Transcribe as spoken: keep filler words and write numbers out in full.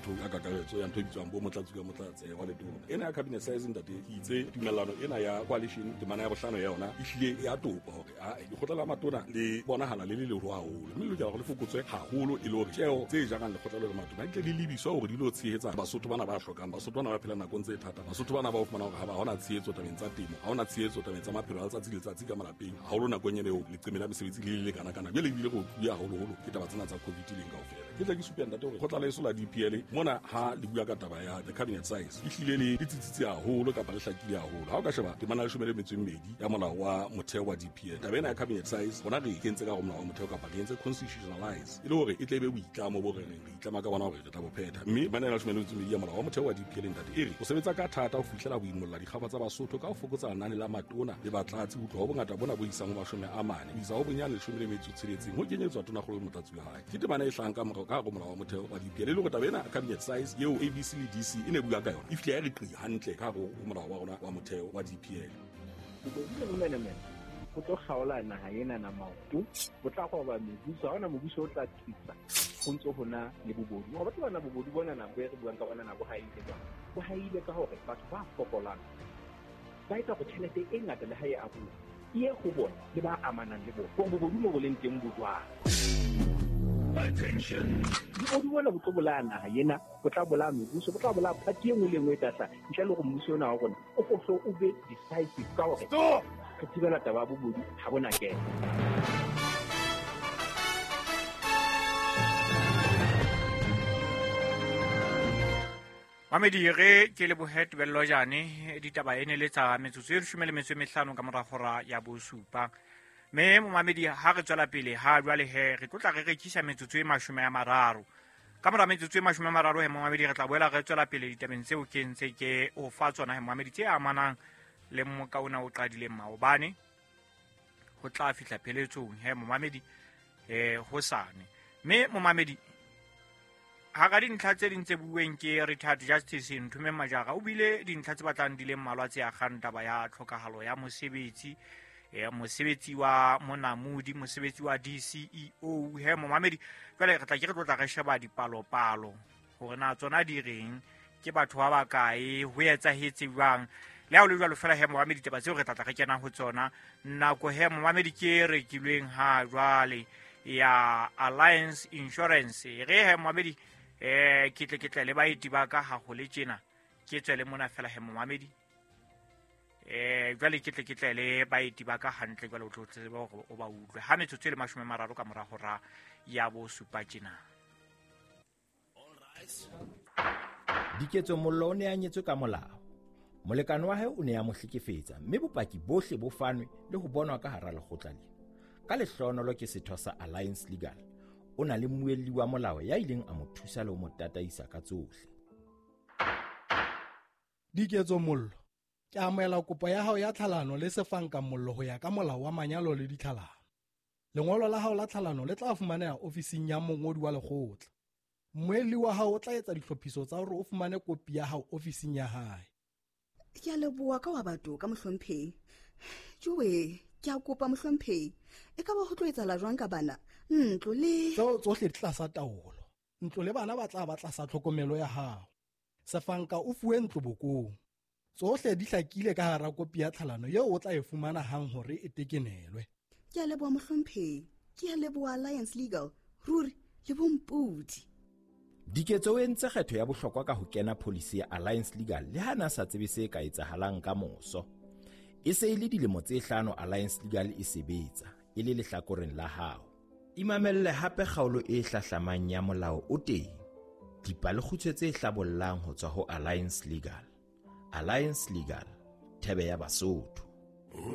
ntho ya kakaretso ya ntho e bitswang bo motlatsi ka motlatse wa letona. Ena ya cabinet size ntate ke itse tumellano ena ya coalition temana ya bohlano ya yona e hlile ya topa hore a lekgotla la matona le bonahala le le leholo haholo, mme le lokela hore le fokotswe haholo e le hore tjeo tse jarang lekgotla le matona di tle di lebiswa hore di lo tshehetsa Basotho bana ba hlokang, Basotho bana ba phelang nakong tse thata, Basotho bana ba o fumana hore ha ba hona tshehetso tabeng tsa temo, ha hona tshehetso tabeng tsa maphelo a letsatsi le letsatsi ka malapeng, haholo nakong ena eo leqeme la mesebetsi le le kana kana. Jwale ebile go bua haholoholo ke taba tsena tsa COVID leng kaofela. Ke tla ke supe ntate hore kgotla la eso la D P L mona ha le bua ka taba ya the cabinet size e hlile le le tsitsitse haholo kapa le hlakile haholo. Ha o ka sheba temana ya leshome le metso e mmedi ya molao wa motheo wa D P L, taba ena ya cabinet size rona re e kentse ka hare ho molao wa motheo kapa re entse constitutionalize e le hore e tle e be boitlamo bo re reng re itlama ka bona hore re tla bo phetha. Mme temana ya leshome le metso e mmedi ya molao wa motheo wa D P L ntate e re o sebetsa ka thata ho fihlela ho imolla dikgaba tsa Basotho ka ho fokotsa lenane la matona le batlatsi ho tloha ho bongata bona bo isang ho mashome a mane ho isa ho bonyane leshome le metso e tsheletseng ho kenyetswa tonakgolo le motlatsi wa hae. Ke temana e hlahang ka morao ka hare ho molao wa motheo wa D P L e le hore taba ena cabinet size eo A B C le D C e ne bua ka yona e fihle ya re qi hantle ka hare ho molao wa rona wa motheo wa D P L. Bobodu le bomenemene ho tlo kgaola naha ena na maoto, ho tla roba mebuso, ha hona mobuso o tla tsitsa ho ntso hona le bobodu. Hore batho bana bobodu bona nako e re buang ka bona nako ha e ile jwang, bo haile ka hore batho ba fokolang ba etsa hore tjhelete e ngata le ha e abuwa e ye ho bona le ba amanang le bona, hore bobodu mo bo leng teng bo jwang. Attention. Bobodu bona bo tlo bolaya naha ena, bo tla bolaya mebuso, bo tla bolaya party e nngwe le e nngwe e tla hlaha ntle le hore mmuso ona wa rona o ko o be decisive ka hore Stop! re thibela taba ya bobodu ha bona kena. Mamedi re ke lebohe Tebello Jane ditaba e ne le tsa metsotso e leshome le metso e mehlano ka mora hora ya bosupa. Mme momamedi ha re tswela pele ha jwale he re tlotla re rekisa metsotso e mashome a mararo. Ka mora metsotso e mashome a mararo he momamedi re tla boela re tswela pele ditabeng tseo ke ntse ke o fa tsona he momamedi tse amanang le mmoka ona o qadileng maobane ho tla fihla pheletsong he momamedi eh hosane. Mme momamedi hara dintlha tse ding tse bueng ke retired Justice Nthumeng Majara o bile dintlha tse batlang di le mmalwa tse akgang taba ya tlhokahalo ya mosebetsi, eh mosebetsi wa monamodi, mosebetsi wa D C E O he momamedi. Jwale re tla ke re tlotla re sheba dipalopalo hore na tsona di reng, ke batho ba bakae, ho etsahetse jwang. Le ha ho le jwalo fela he momamedi ditaba tseo re tla tla re kena ho tsona nako he momamedi ke e rekilweng ha jwale ya Alliance Insurance. Re he momamedi eh ke tle ke tle le baeti ba ka ha ho le tjena ke tswele mona fela he momamedi eh jwale ke tle ke tle le baeti ba ka hantle jwale o tlo tseba hore o ba utlwe ha metsotso e le mashome a mararo ka mora hora ya bosupa tjena. Diketso Mollo o ne a nyetswe ka molao. Molekane wa hae o ne a mo hlekefetsa mme bopaki bohle bo fanwe le ho bonwa ka hara lekgotla lena. Ka lehlohonolo ke setho sa Alliance Legal. O na le mmuelli wa molao ya ileng a mo thusa le ho mo tataisa ka tsohle. Diketso Mollo, ke amohela kopo ya hao ya tlhalano le Sefanka Mollo ho ya ka molao wa manyalo le ditlhalano. Lengolo la hao la tlhalano le tla fumaneha ofising ya mongodi wa lekgotla. Mmuelli wa hao o tla etsa ditlhophiso tsa hore o fumane kopi ya hao ofising ya hae. Ke a leboha ka wa batho ka mohlomphehi. Jowe, ke a kopa mohlomphehi. E ka ba ho tlo etsahala jwang ka bana? Ntlo le tseo tsohle di tlasa taolo. Ntlo le bana ba tla ba tlasa tlhokomelo ya hao. Sefanka o fuwe ntlo bokong. Tsohle di hlakile ka hara kopi ya tlhalano eo o tla e fumana hang hore e tekenelwe. Ke a leboha mohlomphehi. Ke a leboha Alliance Legal. Ruri le bompodi. Diketso o entse kgetho ya bohlokwa ka ho kena policy ya Alliance Legal le ha na sa tsebe se ka etsahalang ka moso. E se e le dilemo tse hlano Alliance Legal e sebetsa e le lehlakoreng la hao. Imamelle hape kgaolo e hlahlamang ya molao o teng. Dipalekgutshwe tse hlabollang ho tswa ho Alliance Legal. Alliance Legal, thebe ya Basotho.